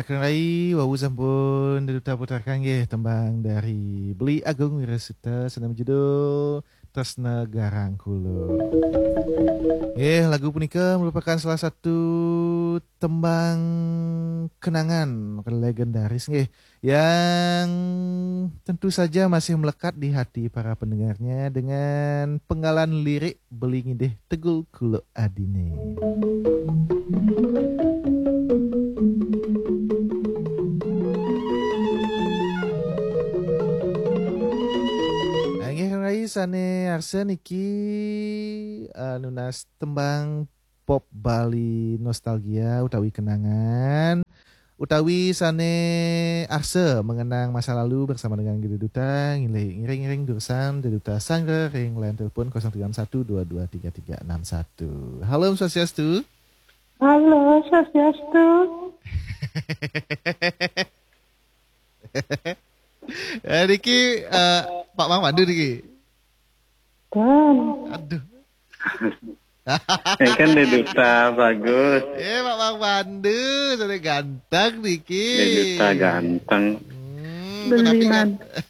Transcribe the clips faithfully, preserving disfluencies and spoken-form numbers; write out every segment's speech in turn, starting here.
Kang Rai, wau sampun Dé Duta putarkan nggih tembang dari Beli Agung Wirasuta sané judul Tresna Garang Kula. Nggih, lagu punika merupakan salah satu tembang kenangan legendaris nggih, yang tentu saja masih melekat di hati para pendengarnya dengan penggalan lirik Beli Ngidih Tegul Kula Adiné. Nah, inggih Kang Rai sané arsa niki, eh, nunas tembang pop Bali nostalgia utawi kenangan, utawi sané arsa mengenang masa lalu bersama dengan Gede Duta, ngiring-ngiring durusang Gede Duta Sangga ring line telepon kosong tiga enam satu dua dua tiga tiga enam satu. Halo, Om Swastiastu. Halo, Swastiastu. Eh, niki, eh, Pak Mang Pandu niki. Kan. Aduh. Ini kan Dé Duta bagus. Eh, Pak Mang Pandu, sudah ganteng niki. Dé Duta ganteng. Hmm, Beli tetapi kan man.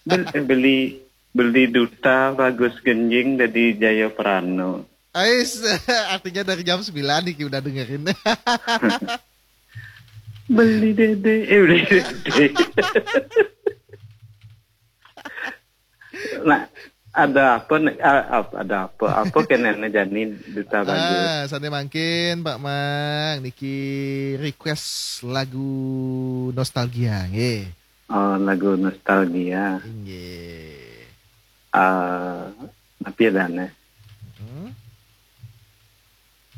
Bel-, beli, beli Duta bagus genjing dari Jaya Prano. Ais, artinya dari jam sembilan niki udah dengerin. Beli Dédé, eh, beli Dédé. Nah, ada apa nih? Ah, ap-, ada apa? Apa kenana jani Duta bagus? Ah, sané mangkin Pak Mang niki request lagu nostalgia nggih. Oh, lagu nostalgia. Inggih. Ah, napi adané? Hmm?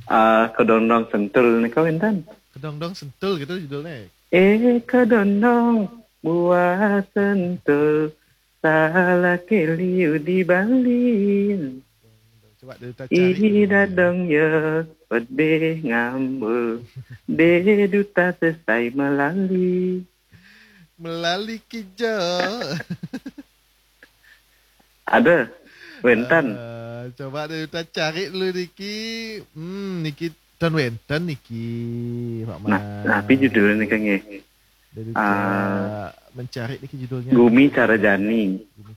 Ah, Kedondong Sentul nika wénten. Kedondong Sentul gitu judulnya. Eh, kedondong buah sentul, salah keliu di Bali. Coba Dé Duta cari. Ih, dadong ya, pedih ngambul. Dé Duta sesai melali. Melali kijo. Ada, wénten. Eh, coba Dé Duta cari dulu niki. Hmm, niki ten wénten niki, Pak Mang. Nah, napi judulnya nika nggih? Dé Duta ah, mencari niki judulnya. Gumi Cara Jani. Gumi